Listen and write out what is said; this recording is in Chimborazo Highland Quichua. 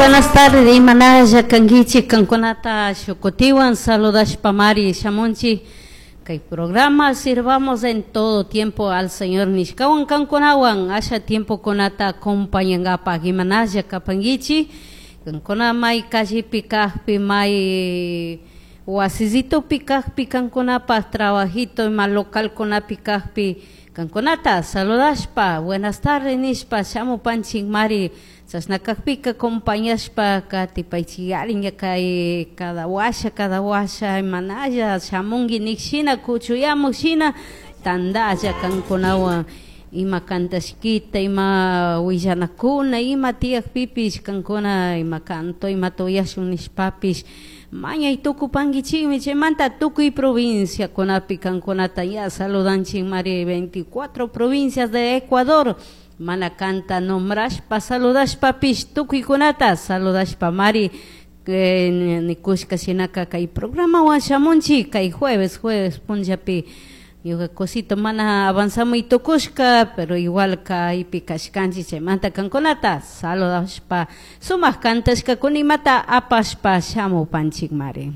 Buenas tardes, imanalla kankichik kankunata shukutiwan saludashpa mari shamunchik kay programa sirvamos en todo tiempo al Señor nishkawan kankunawan asha tiempokunata acompañangapaj imanalla kapankichik kankuna may callepi kajpi, may wasisitupi kajpi, kankunapaj trabajito ima localkunapi kajpi kankunata saludashpa buenas tardes nishpa shamupanchik mari. Chashna kajpika acompañashpa katipaychik ña kay cada washa imanalla shamunki nikshina kuchuyamuj shina tandalla kankunawan ima kantashkita, ima willanakuna, ima tiyakpipish kankuna ima canto imata uyashun nishpapish mañay tukupankichikmi. Chaymanta tukuy provinciakunapi kankunata ya saludanchik mari, 24 provincias de Ecuador. Mana kanta nombrashpa saludashpapish tukuykunata saludashpa mari nikushka shinaka kay programawan shamunchik kay jueves punllapi. Ñuka cosito mana avanzamuy tukushka, pero igual kaypi kashkanchik. Chaymanta kankunata saludashpa sumak kantashkakuna imata apashpa shamupanchik mari.